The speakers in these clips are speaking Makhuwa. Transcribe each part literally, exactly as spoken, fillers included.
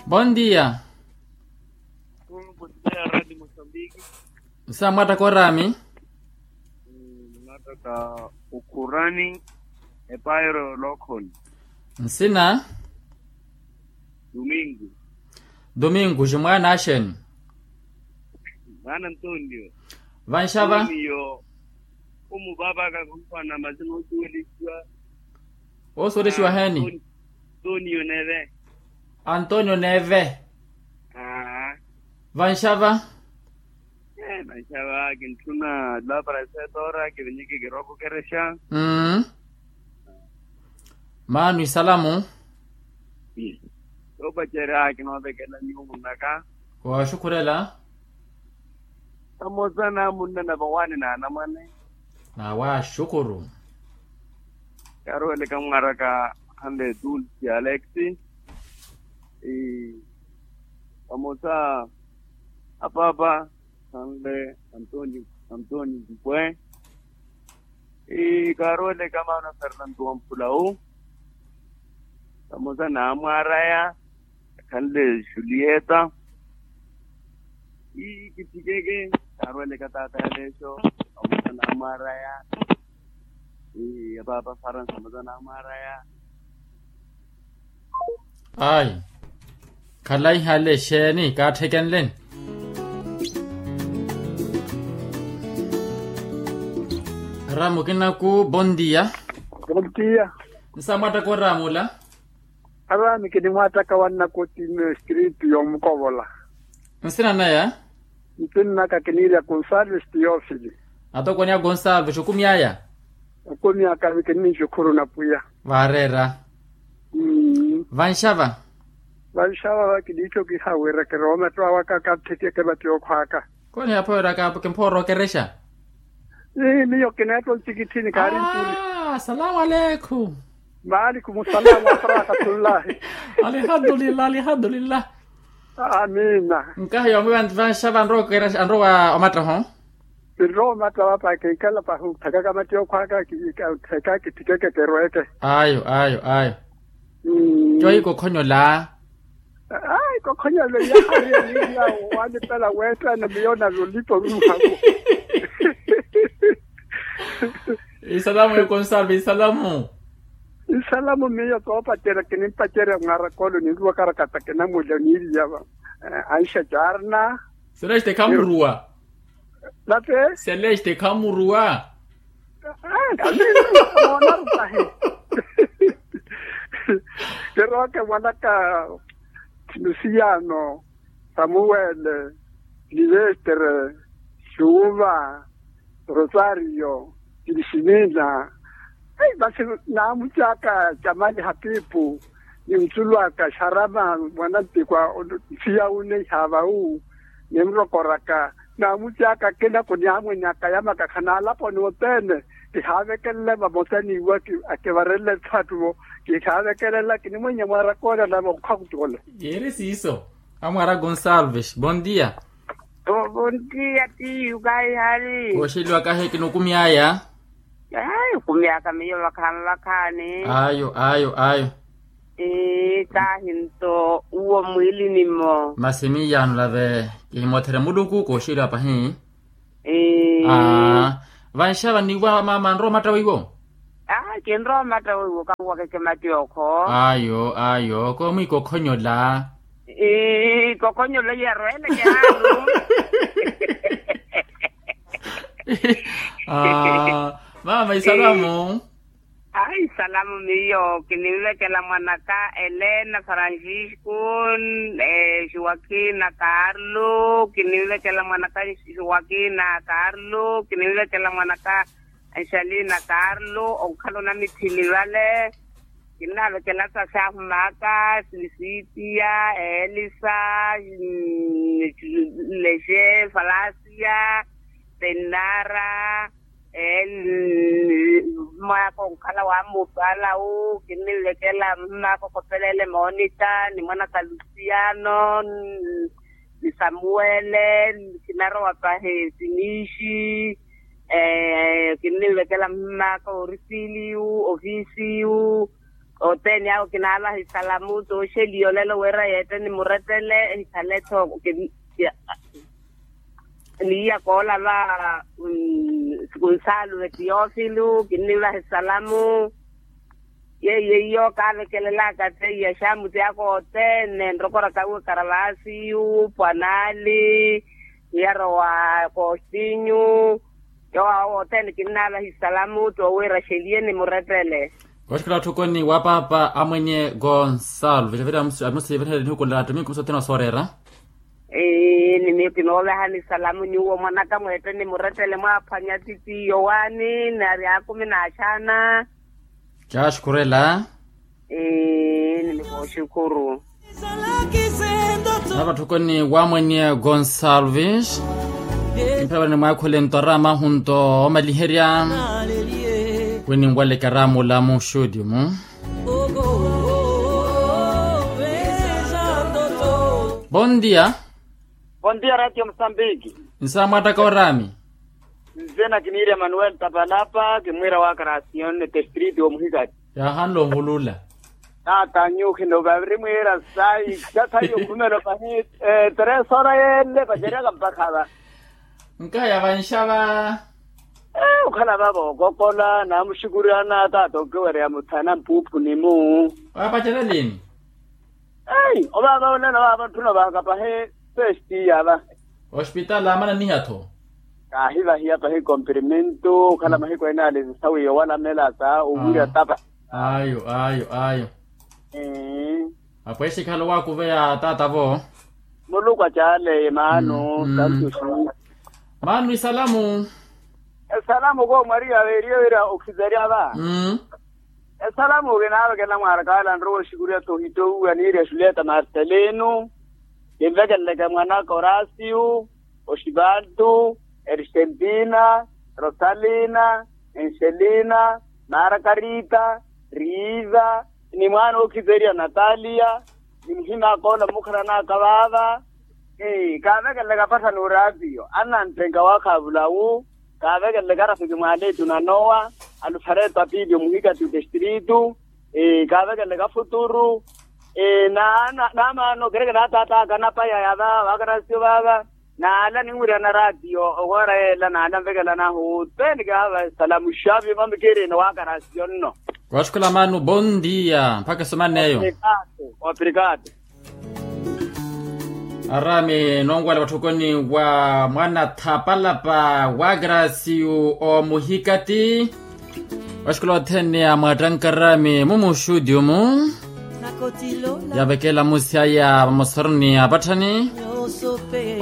Bon dia. Nsa mwattaka oraami? Mwattaka okhurani. Epairo lokhoni. Nsina? Domingo. Domingo ximwaana axeni? Mwaana antonio. Vanxava? Antonio. Khumuvaavaka khumphwana masina osuwelixiwa. Osuwelixiwa heeni? Antonio neve. Antonio neve. Vanxava? Vanxava kintthuna lapa ra setora kivinyiki kiroko kerexa. Maano isalamu. Yoopacerya kinoovekela nyuwo munnaka. Waaxukhurela. Vamosa na munna na vawaani na anamwane. Na waaxukuru. Kaaruweleka mwaaraka khanle dulce alex. Vamosa apaapa khanle antoni antoni dupwe. Kaaruweleka maana fernanto wa mphulawu. Vamosa na amwaaraya khanle julieta. Kitthikeke kaaruweleka taata yaleexo. Vamosa na amwaaraya. Apaapa faransa vamosa na amwaaraya. Ayi. Khalaiha ale exeeni kaatthikenleni. Aramu kinaku bontia. Bontia. Nsa mwattaka oramu ola. Aramu kinimwattaka wannakoti mmestritu yoomukovola. Nsina naya? Ntinnaka kiniirya gonsalves tiyofili. Atokoni a gonsalves okumyaya? Okumyaka kininixukhuru na pwiya. Vaareera. Vanxava? Vanxava va kiniittho kihawiira kirooma etthu awaka katthekeke vati okhwaaka. Konihaphowera kaapo kimphoora okerexa. Miyo kineetta ontikitthini kaari nturi. Salamu aleikum. Maalikum salamu wa rahmatullahi. Alihamdulillah alihamdulillah. Amiina. Nkahi yoomi vanti vanxava anrowa okerexa anrowa omattaho. Kinrowa omattaho apa kinkela pahi otthekaka matti okhwaaka. Ottheka kitthikeke kerweeke. Ayo ayo ayo. Coyi kokhonyola. Ayi kokhonyola yahariya niiya. Walipela weettana miyo nalolipa oruhako. Isalamu ya gonsalve isalamu. Isalamu miyo koopacerya kinimpacerya mwarakolo ninruwakarakata kinamulya niiriyava. Anxa carna. Celeste khamuruwa. Nate? Celeste khamuruwa. Kamiru monaru tahi. Kerooke mwanaka. Lusiano, samuwele, silivestere, xuuva, rosario, kilisimina. Masi naamucaaka camali hapipu, ni nsulwaka xarama mwanantikwa. Nsiya wu neiha vawu nimrokoraka. Naamucaaka akina kuniamwenyaka yamaka khanaalaponi othene. Kihaavekelela vamosa niiwa akivarele etthu atthu vo. Kihaavekelela kinimwenya mwarakoola nave okhakutikola. Yeeri siiso. Amwara gonsalves bontia. Bontia tiyu kaihali. Kooxeliwa kahi kinukumyaya. Kumyaka miyo vakhaani vakhaani. Ayo ayo ayo. Kahi nto uwo mwiilini-mo. Masi miiyaano lave kihimotherya muluku kooxeliwa pahi. Vanxava niiwa mama anrowa omatta weiwo. Kinrowa omatta weiwo kanwakeke matti okho. Ayo ayo koomwikokhonyola. Kokhonyola iyarweleke haalu. Mama isalamu. Ayi salamu miyo kinivekela mwanaka elena francisco, joaquina carlo kinivekela mwanaka joaquina carlo kinivekela mwanaka, anxalina carlo onkhala onamithili vale. Kinnavekela sasi ahumaka silisitia, elisa, lexe falasia, pennara, mmaaka onkhala wamupaala wu kinnivekela mmaaka okhopelele monika ni mwanaka lusiano, ni samuwele, kinarowa pahi sinixi. Kinnivekela mmaaka orisiliyu ofisiyu. Othene awo kinaalaha esalamu tooxeliya olelo wira yeetteni murettele ehikhale-tho. Niiya koolava kunsaluve tiyofilo kinnivaha esalamu. Yeiyo iyo kaavekelelaka teiya xamuti aka othene nrokoraka uwe karavasiyu pwanaali, yarowa kostinyu. Yoowo awo othene kinnaalahi salamu toowiira xeliye ni murettele. Kooxikhala otthukoni wa paapa amwenye gonsalve vira amusivirihela nihuku nla attomiku musa othene wa sooreera. Ni miyo kinoovehani salamu nyuwo mwanaka mweetteni murettele mwaaphwanya titiyo waani nari akumi n'axaana. Caxukhurela. Ni mikooxukhuru. Navatthukoni wamwenye gonsalves. Kimphevani mwaakhule nto arama hunto omaliherya. Kwininwalekera mulamu xutimu. Bon dia. Bon dia ratio musambiki. Nsamwattaka orami. Nzina kiniira emanuel tapalapa kimwiira wa karasiyon ni testriti omuhikati. Yaahanle onhulula. Taata nyukhino vavirimwiira sai. Taata yokhumelo pahi. Teresora yelle paceryaka mpakha va. Nkaya vanxava. Okhala va vookokola namuxukuriyana taata onkiwereya muthana mpuuphuni mu. Waapacerya lini? Ai ovaava onene ovaava ntthuna ovahaka pahi. Pestiya va. Ospitali aamana niha-tho. Kaahivahiya pahi komprimintu okhala mahiku ene ali sawiya owalamela sa owirya tapa. Ayo ayo ayo. Apweexikhala owaakuveya taata-vo. Muluku acaaleeye maano. Santuxi. Maano isalamu. Esalamu koomu ariya veeriye wira okhizerya va. Esalamu kinaavekela mwaaraka ala nrowa oxikuriya tohitowuwa niirya julieta marcelino. Kinvekeleleke mwanaka orasiyu, oxivaltu, ersentina, rosalina, enxelina, markarita, riiva, ni mwaana ookhizeriya nataliya, ni muhim'aka ola mmukharan'aka vaava. Kaavekeleleke apattha n'oratiyo annanttenka waakhaavulawu. Kaavekeleleke arafiki mwaaleetu na nowa, alufareto apiliyo muhikati otestritu. Kaavekeleleke afuturu. Naamaano kereke naataat'aka anapaya yava waakarasiyo vaava. Naala ninwirana ratiyo owoora yeela naala nvekelanahu. Teni kaava esalamu xavi mamikiirina waakarasiyo nno. Kooxukhula maano bon dia mpakha esumaneyo. Obrigado. Arami noonwala watthukoni wa mwana thapalapa wa grasiyu omuhikati. Waxikola othene amwaattankarami mumuxuti omu. Yavekela musi aya vamosoroni apatthani.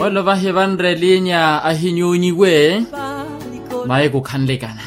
Olo vahi vanre linya ahinyunyiwe. Mayi kukhanlekana.